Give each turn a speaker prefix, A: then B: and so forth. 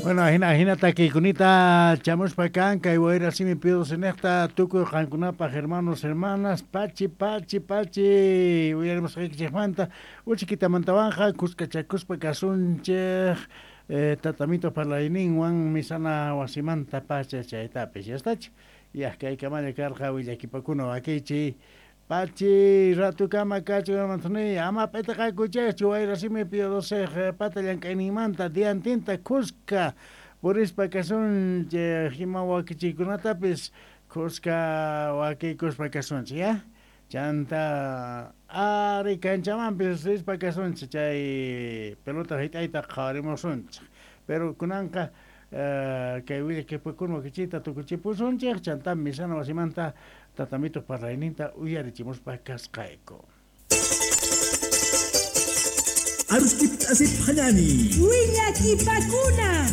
A: Bueno, ajina ajina takiykunita chamuspa kan kay wayra simi pidosinejta tukuy qankunapaj hermanos hermanas pachi pachi pachi uyarimusqaykichejmanta uchikitamantawanqa kuskachakuspa kasunchej tatamito parlayninwan misana wasimanta pacha chaytapis yastach yaj kaykamalla karqa willakipakuna wakichiy pachi ratukama kachun ama p'itiqakuchejchu wayra simi piodosej pata llank'ayninmanta diantinta kuska purispa kasunchej ima wakichiykunatapis kuska wakiykuspa kasunchej ya chanta ari kanchamanpis rispa kasunchej chay pelota hit'ayta qhawarimusunchej pero kunanqa kay willakipakuna wakichiyta tukuchipusunchej chanta misana wasimanta tatamito parlayninta uyarichimuspa kasqayku.
B: Aruskip asip hanani.
C: Willakipakuna.